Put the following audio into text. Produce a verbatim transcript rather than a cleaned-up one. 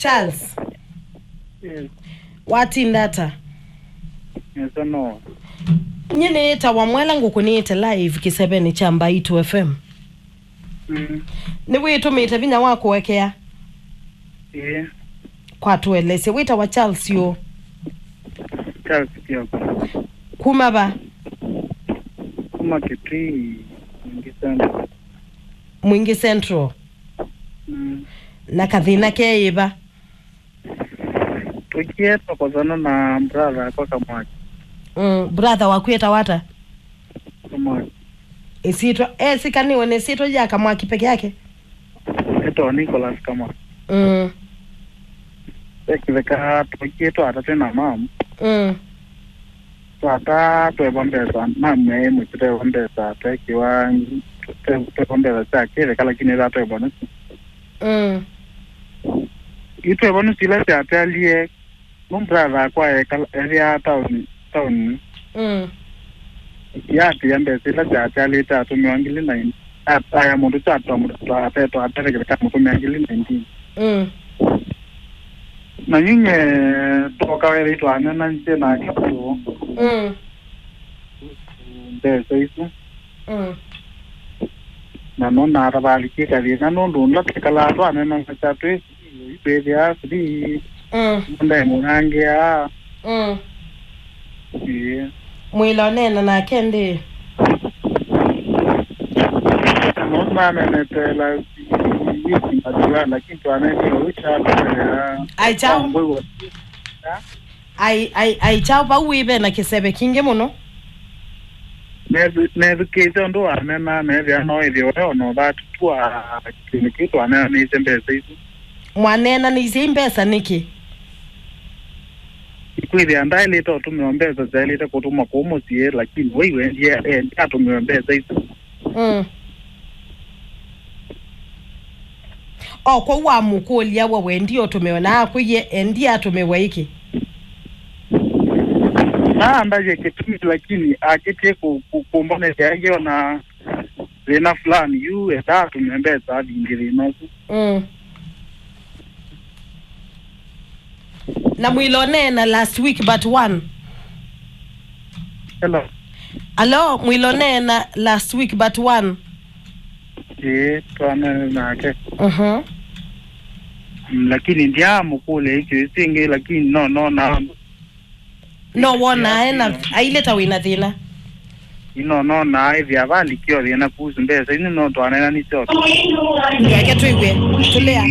Charles, yes. Watinda ata? Nesa no. Nyie nĩtawa Mwela, ngũkũnĩte live kĩsevenĩ kya Mbaitu F M. Mm. Nĩwĩtũmĩte vinya wa kũekea? Ĩĩ. Kwa tũelesye, wĩtawa Charles ũ? Charles Kioko. Kuma va? Kuma Kitui, Mwingi Central. Mwingi Central. Mm. Na kathĩna keĩ va? Tũkie twakosana na brother akwa Kamwaki. Mm, brother waku etawa ata? Kamwaki. Ĩsyĩtwa, esĩkanĩwe na ĩsyĩtwa ya Kamwaki peke yake? Etawa Nicholas Kamwaki. Mm. Ekĩtheka tũkie twata twĩ na mam. Mm. Twata tweva mbesa, mam e mũtĩ tweva mbesa, twekĩwa, twe-, tweva mbesa sya kĩtheka, lakini ĩla tweva nĩsyo. Mm. Itweva nũsu ila syatalie, nũ brother akwa ekala, ethĩaa taoni, taoni. Mm. Yaatĩĩa mbesa ila syatalyĩte atũmĩwa ngili nine. At-, aya mũndũ kya twa-, twa-, ate-, twatethekeleka mũtũmĩa ngili nineteen. Mm. Na nyinye twoka wethĩ twanena nje nake tu. Mm. Mbesa isu. Mm. Na nona atavalikie kathĩna nũndũ ũla twĩkalaa twanena na kya twĩ Twĩthĩa free. Mm. Mũndũ mũnangĩa. Mm. Ĩĩ. Mwĩla ũneena nake ndĩ? Mũndũ nanenete la wiki mbatiwa, lakini twanenie ũcha. Ai, chao. Ai, ai, ai, chao, vau wĩ ve na kĩseve kingĩ mũno. Nethukĩte ũndũ wanena, nethĩa no ĩthĩwe ona ũvatũtua kĩndũ kĩu twanenanĩte mbesa isu. Mwaneenanĩisye i mbesa nĩkĩ? Kwĩthĩa ndaĩlĩte ũtũmĩwa mbesa, syaĩlĩte kũtũmwa kũu mũsyĩ, lakini wei wendie, endie atũmĩwe mbesa isu. Mm. O, kwoou wamũkũlya we wendie ũtũmĩwe, na akwĩie endie atũmĩwe ĩkĩ? Naandavya kĩtumi, lakini akĩtie kũ-, kũ-, kũmbonethya aingĩ ona thĩna fulani yu, enda atũmĩwe mbesa avindye thĩna ũsu. Mm. Na mwĩla ũneena last week but one. Hello. Alo, mwĩla ũneena last week but one. Ĩĩ, twanene nake. Mhm. Mm, lakini ndiamũkũlya ĩkyo ĩsu ĩngĩ, lakini no, no, na No wona ena, aile ta wĩna thĩna. Ino nona ĩthĩa valikio thĩna kuhusu mbesa ino no twanena nĩ syote. Ndwake twĩw'e. Tũlea.